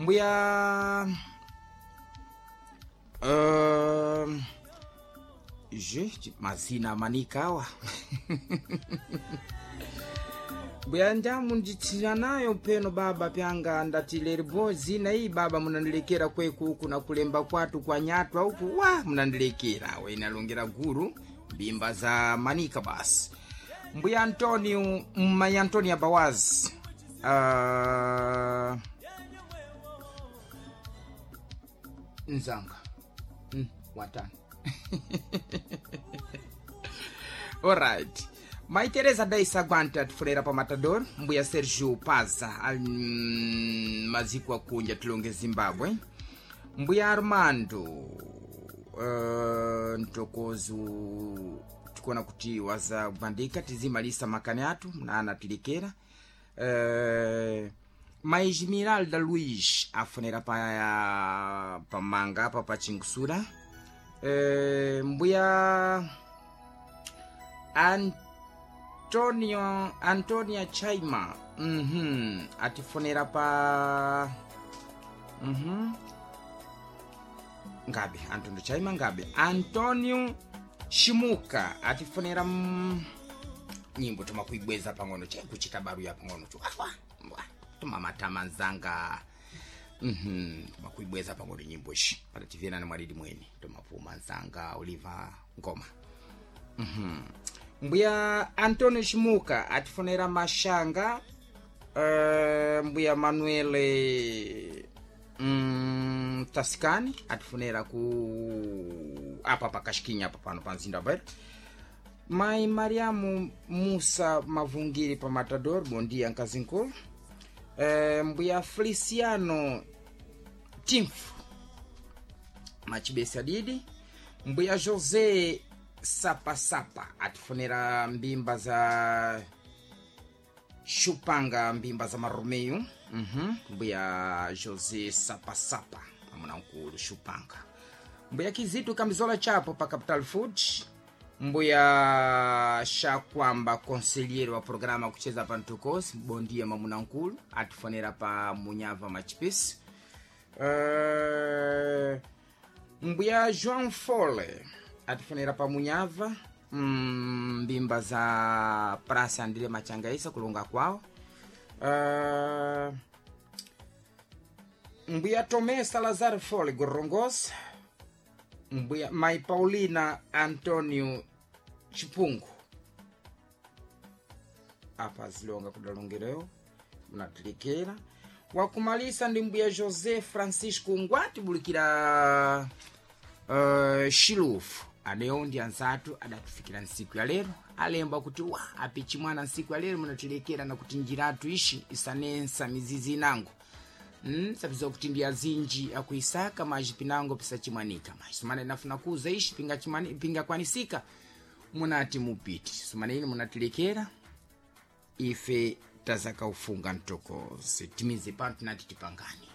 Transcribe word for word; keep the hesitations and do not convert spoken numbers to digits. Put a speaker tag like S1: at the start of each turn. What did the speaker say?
S1: Mbuya uh, je mazina manika awa. Mbuya njamu nditsira nayo peno baba pyanga ndati leribo zina iyi baba munandilekera kweku uku na kulemba kwatu kwa nyatwa uku wa munandilekera wenalongera guru mbimba za manika basi. Mbuya Antonio mmayi Antonio Abawazi uh, nzanga mm, watano. Alright, Mai Teresa Daisa Gwanta tifulera pa Matador. Mbuya Sergio Paza ali mm, maziko akunja tilonge Zimbabwe. Mbuya Armando uh, ntokozu tikuona kuti waza kubandika tizimalisa makani athu mnana tilikera. uh, Mai Esmeralda Luiz afonera pa pamanga apa pa Chinkusura. uh, mbuya Antonio Antonia Chaima mm atifonera pa mm ngabe Antonio Chaima ngabe Antonio Shimuka atifonera mm, nyimbo tomakuibweza pang'ono chaikuchita baruya pang'ono tu awa mbwa tumamatama nzanga mhm tomakuibweza pang'ono nyimbo ishi patativena na mwalidi mweni tomapuma nzanga Oliver Ngoma. mm mbuya Antonio Shimuka atifonera mashanga. uh, mbuya Manuele mm, Tasikani atifonera ku apa pakashikinya apa pano pa mzinda wa Beira. Mai Mariamu Musa Mavungiri pa Matador, bondia nkazinkulu. uh, mbuya Feliciano Timfu Machibesi adidi. Mbuya José Sapasapa atifonera mbimba za Shupanga, mbimba za Maromeu. mm mbuya José Sapasapa amuna nkulu Shupanga. Mbuya Kizitu Kambizola Chapo pa Capital Food. Mbuya Shakwamba conselheiro wa programa kucheza pa Ntukosi, bondia mamuna nkulu atifonera pa Munyava Machipisi. uh, mbuya João Fole atifonera pa Munyava mm, mbimba za Praça Andile Machangaisa kulonga kwawo. uh, mbuya Tomé Salazar Fole Gorongosa. Mbuya Mai Paulina Antonio Chipungu apa zilonga kudalongereo munatilikera. Wakumalisa ndi mbuya José Francisco Ngwati bulikira uh, Shilufu anewo ndi anzathu adatifikira ntsiku ya lero alemba kuti wa apichi mwana ntsiku ya lero munatilekera na kuti njiratu ishi isanensa mizizi inango. mm, sapiza kuti ndi azinji akuisaka maji pinango pisachimwanika maji sumana inafuna kuza ishi pingachimwani- pingakwanisika munati mupiti sumana ine munatilekera ife tazakaufunga mtokozi timize pano tinati tipangani.